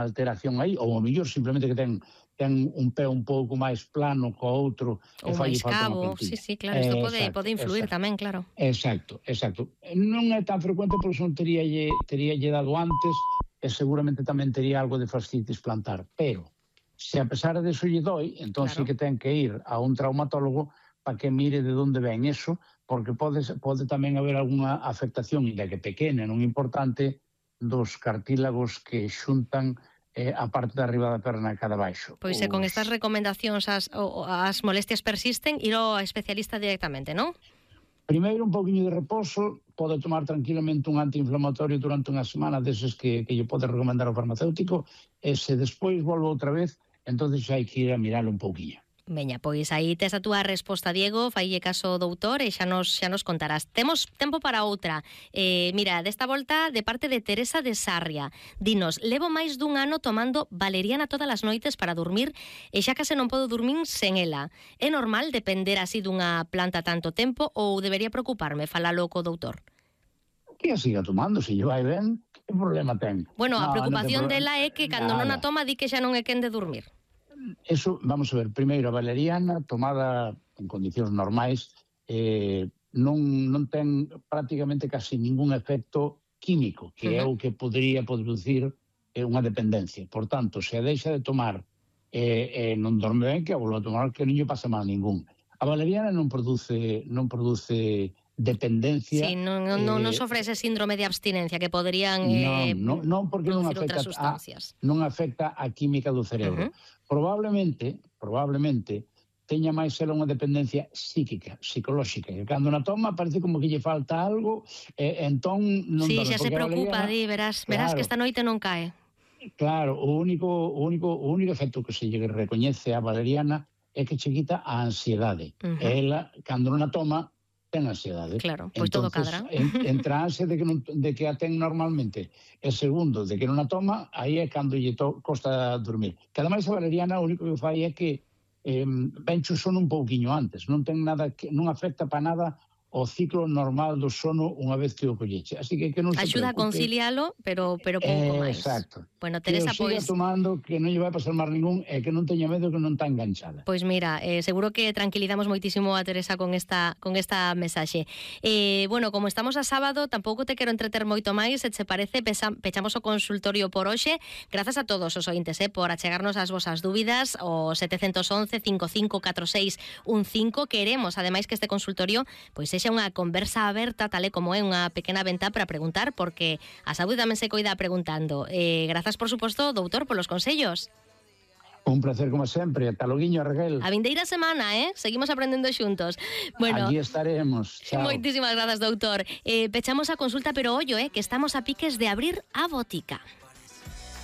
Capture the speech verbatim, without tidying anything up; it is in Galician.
alteración aí, ou ao mellor simplemente que ten ten un pé un pouco máis plano co outro ou máis cabo, sí, sí, claro, isto pode, exacto, pode influir exacto, tamén, claro. Exacto, exacto. Non é tan frecuente porque non teríalle, teríalle dado antes e seguramente tamén tería algo de fascitis plantar, pero se a pesar de eso lle doi, entón Claro. sí que ten que ir a un traumatólogo para que mire de onde ven eso, porque pode, pode tamén haber algunha afectación, ainda que pequena, non importante, dos cartílagos que xuntan eh, a parte de arriba da perna cada baixo. Pois se con estas recomendacións as, as molestias persisten, ir ao especialista directamente, non? Primeiro un pouquinho de reposo, pode tomar tranquilamente un antiinflamatorio durante unha semana deses que, que lle pode recomendar o farmacéutico, e se despois volve outra vez, entón xa hai que ir a miralo un pouquinho. Veña, pois aí tes a túa resposta, Diego, faille caso doutor e xa nos, xa nos contarás. Temos tempo para outra. Eh, mira, desta volta de parte de Teresa de Sarria. Dinos, levo máis dun ano tomando valeriana todas as noites para dormir e xa case non podo dormir sen ela. É normal depender así dunha planta tanto tempo ou debería preocuparme falalo co doutor? Que a siga tomando, se lle vai ben, que problema ten? Bueno, a No, preocupación non dela é que cando non a toma di que xa non é quen de dormir. Eso, vamos a ver, primeiro a valeriana tomada en condicións normais eh, non, non ten prácticamente casi ningún efecto químico, que uh-huh. é o que podría producir eh, unha dependencia. Por tanto, se a deixa de tomar e eh, eh, non dorme ben, que a volva a tomar, que non lle pasa mal ningún. A valeriana non produce non produce dependencia. Sí, non, non, non, non sofre ese síndrome de abstinencia que poderían eh, non, non, non porque non afecta, a, non afecta a química do cerebro. Uh-huh. Probablemente, probablemente teña máis ela unha dependencia psíquica, psicolóxica, que cando na toma parece como que lle falta algo, e eh, entón non sí, dorme. xa se preocupa, valeriana, di, verás, verás claro, que esta noite non cae. Claro, o único, o único, o único efecto que se lle recoñece a valeriana é que che quita a ansiedade. Uh-huh. E ela, cando non a toma, ten ansiedade. Claro, pois todo cadra. En, entre a ansia de que, non, de que a ten normalmente e segundo, de que non a toma, aí é cando lle to, costa dormir. Que ademais a valeriana o único que fai é que eh, venche o sono un pouquiño antes, non ten nada que, non afecta para nada o ciclo normal do sono unha vez que o colleche. Así que que non se axuda preocupe. A concilialo, pero pero pouco eh, máis. Exacto. Bueno, Teresa, que o siga pois tomando, que non lle vai pasar máis ningún e que non teña medo que non está enganchada. Pois mira, eh, seguro que tranquilizamos moitísimo a Teresa con esta con esta mensaxe. Eh, bueno, como estamos a sábado, tampouco te quero entreter moito máis, se che parece, pesa, pechamos o consultorio por hoxe. Grazas a todos os ointes, eh, por achegarnos as vosas dúbidas, o sete once, cinco cinco catro seis un cinco. Queremos, ademais, que este consultorio pois sexa unha conversa aberta, tal e como é unha pequena venta para preguntar, porque a saúde tamén se coida preguntando. Eh, grazas, por suposto, doutor, polos consellos. Un placer como sempre, ata loguiño, Raquel. A vindeira semana, eh? Seguimos aprendendo xuntos. Bueno, aquí estaremos. Chao. Moitísimas grazas, doutor. Eh, pechamos a consulta, pero ollo, eh, que estamos a piques de abrir a botica.